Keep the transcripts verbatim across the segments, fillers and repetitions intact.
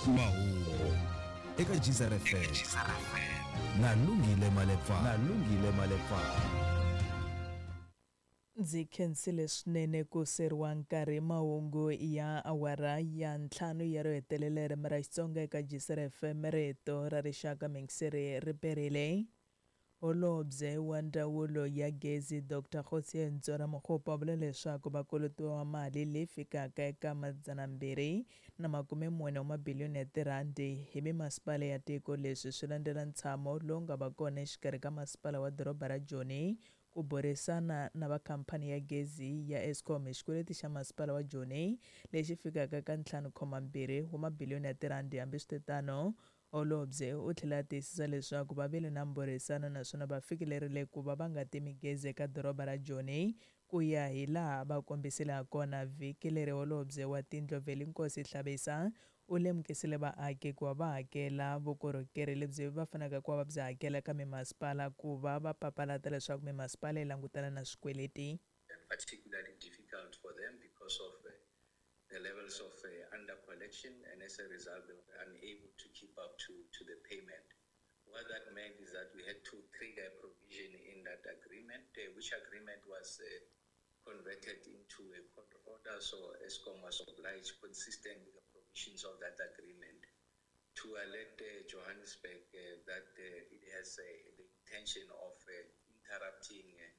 Mahungu eka Geyser F M na Lungile Malepa na Lungile Malepa. Ndzi khensile swinene ku seriwa nkarhi. Mahungu ya awara ya ntlhanu ya ro hetelela ririmi ra Xitsonga eka Geyser F M, rito ra rixaka mingiseri ri perile. Holobye wa ndzawulo ya gezi Doctor Kgosientsho Ramokgopa u vule leswaku va kolotiwa mali leyi fikaka eka madzana mbirhi na makume mune wa mabiliyoni ya tirhandi hi mimasipala ya tiko. Leswi swi landzela ntshamo lowu nga va kona exikarhi ka masipala wa doroba ra Joni ku burisana na va khamphani ya gezi ya Eskom hi xikweleti xa masipala wa Joni lexi fikaka ka ntlhanu khoma mbirhi wa mabiliyoni ya tirhandi. Hambiswiritano, holobye u tlhela a tiyisisa leswaku va vile na mbhurisano naswona va fikelerile ku va va nga timi gezi eka doroba ra Joni ku ya hi laha va kombisile hakona. Vhiki leri holobye wa tindlu Velenkosini Hlabisa u lemukisile vaaki ku va va hakela vukorhokeri lebyi va faneleke ku va va byi hakela ka mimasipala ku va va papalata leswaku mimasipala yi langutana na swikweleti. Particularly difficult for them because of uh, the levels of uh, under collection, and as a result they were unable to keep up to, to the payment. What that meant is that we had to trigger a provision in that agreement, uh, which agreement was uh, converted into a court order, so Eskom was obliged, consistent with the provisions of that agreement, to alert uh, Johannesburg uh, that uh, it has uh, the intention of uh, interrupting, uh,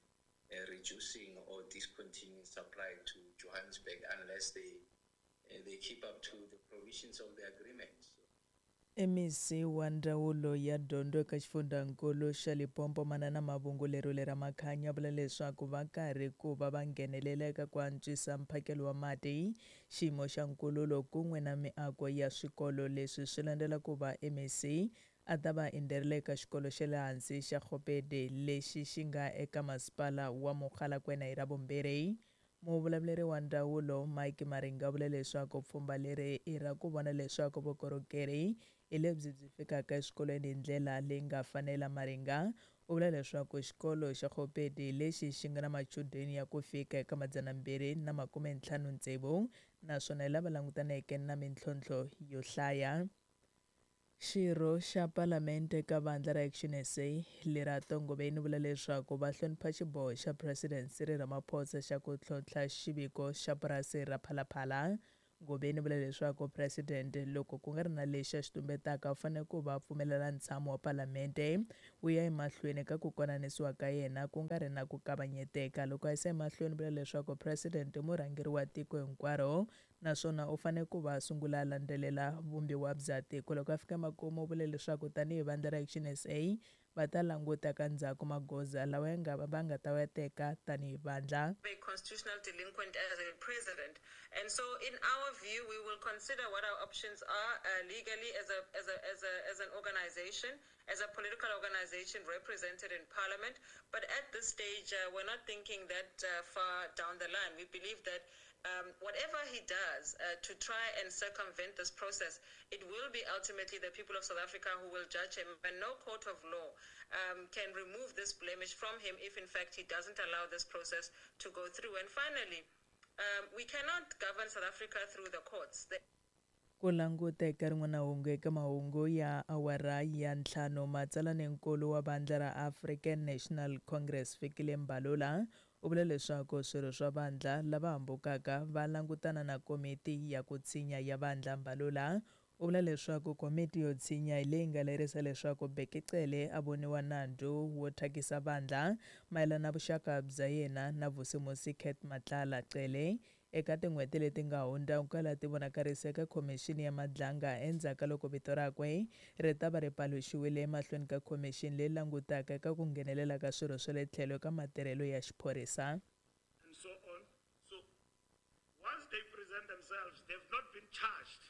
uh, reducing or discontinuing supply to Johannesburg unless they, uh, they keep up to the provisions of the agreement. So M E C wa ndzawulo ya dyondzo eka xifundzankulu xa Limpopo Manana Mavungu Lerule Ramakhanya vula leswaku va karhi ku va va nghenelela eka ku antswisa mphakelo wa mati, xiyimo xa nkululo kun'we na miako ya swikolo. Leswi swi landzela ku va M E C a ta va endzherile eka xikolo xa le hansi xa Kgopedi lexi xi nga eka masipala wa Mogalakwena hi Ravumbirhi. Muvulavuleri wa ndzawulo Mike Maringa vula leswaku pfhumba leri i ra ku vona leswaku vukorhokeri hi lebyi byi fikaka eswikolweni hi ndlela leyi nga fanela. Maringa u vula leswaku xikolo xa Kgopedi lexi xi nga na machudeni ya ku fika eka madzana mbirhi na makume ntlhanu ntsevu naswona hi lava langutaneke na mintlhontlho yo hlaya. Xirho xa Palamende ka vandla ra Action S A Lerato Ngobeni vula leswaku va hlonipha xiboho xa President Cyril Ramaphosa xa ku tlhontlha xiviko xa purasi ra Phalaphala. Ngobeni vula leswaku President loko ku nga ri na lexi a xi tumbetaka u fanele ku va pfumelela ntshamo wa Palamende wu ya emahlweni ka ku konanisiwa ka yena ku nga ri na ku kavanyeteka. Loko a yisa emahlweni vula leswaku President i murhangeri wa tiko hinkwaro naswona u fanele ku va a sungula a landzelela vumbiwa bya tiko. Loko a fika makumu u vule leswaku tanihi vandla ra Action S A va ta languta ka ndzhaku magoza lawa ya nga va nga ta wa teka tanihi vandla. A constitutional delinquent as a president, and so in our view we will consider what our options are, uh, legally as a, as a, as a, as an organization, as a political organization represented in parliament. But at this stage, uh, we're not thinking that, uh, far down the line. We believe that Um, whatever he does, uh, to try and circumvent this process, it will be ultimately the people of South Africa who will judge him, and no court of law, um, can remove this blemish from him if in fact he doesn't allow this process to go through. And finally, um, we cannot govern South Africa through the courts. The Ku languta eka rin'wana hungu eka mahungu ya awara ya ntlhanu, matsalaninkulu wa vandla ra African National Congress Fikile Mbalula u vule leswaku swirho swa vandla lava hambukaka va langutana na komiti ya ku tshinya ya vandla. Mbalula u vula leswaku komiti yo tshinya hi leyi nga lerisa leswaku Bheki Cele a voniwa nandzu wo thyakisa vandla mayelana na vuxaka bya yena na Vusimusi Cat Matlala. Cele eka tin'hweti leti nga hundza u kala ti vonakarise eka khomixini ya Madlanga endzhaku ka loko vito rakwe ri ta va ri paluxiwile emahlweni ka khomixini leyi langutaka eka ku nghenelela ka swirho swa le tlhelo ka matirhelo ya xiphorisa. And so on. So once they present themselves, they've not been charged.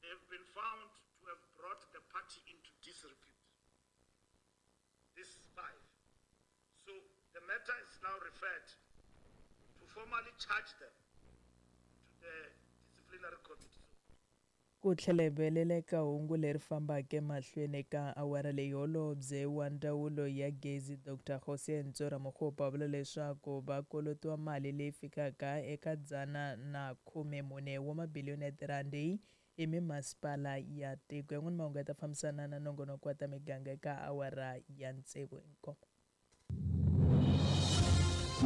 They've been found to have brought the party into disrepute. This five. So the matter is now referred to formally charge them to the disciplinary committee. Ku tlhela hi vuyelela eka hungu leri fambaka emahlweni ka awara leyi, holobye wa ndzawulo ya gezi Doctor Kgosientsho Ramokgopa u vula leswaku va kolotiwa mali leyi fikaka eka dzana na khume mune wa mabiliyoni ya tirhandi hi mimasipala ya tiko. Yan'wana mahungu ya ta fambisana na nongonoko wa ta miganga eka awara ya tsevu inkomu.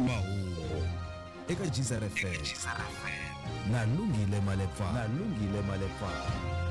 Mahungu eka Geyser F M na Lungile Malepa, na Lungile Malepa.